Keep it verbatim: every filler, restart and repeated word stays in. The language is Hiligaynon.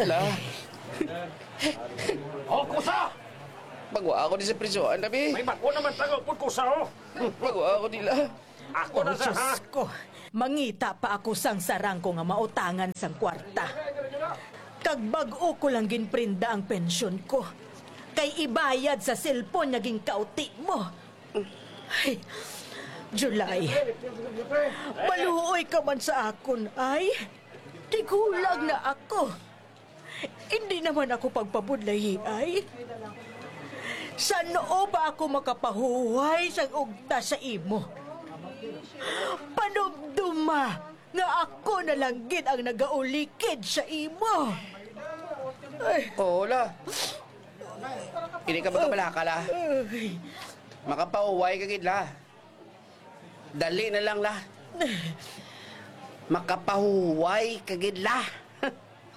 La. O, kusa! Pagwa ako di sa prisohan, Rabi. May bag-o naman tangaw pud kusa, oh. Pagwa ako di, La. Ako na sa, ha? Diyos ko, mangita pa ako sang sarang ko nga mautangan sang kwarta. Kag bag-o ko lang ginprinda ang pensyon ko. Kay ibayad sa cellphone nga ginkauti mo. Ay, July, maluoy ka man sa akon, ay. Tigulang na ako. Hindi naman ako pagpabudlayi, ay. San-o ba ako makapahuway sang ugta sa imo? Panumduma nga ako na lang gid ang nagaulikid sa imo. Ay. Oo, La. Hindi ka magkabalaka, La. Ay. Makapahuway ka gid, La. Dali na lang, La. Makapahuway ka gid, La.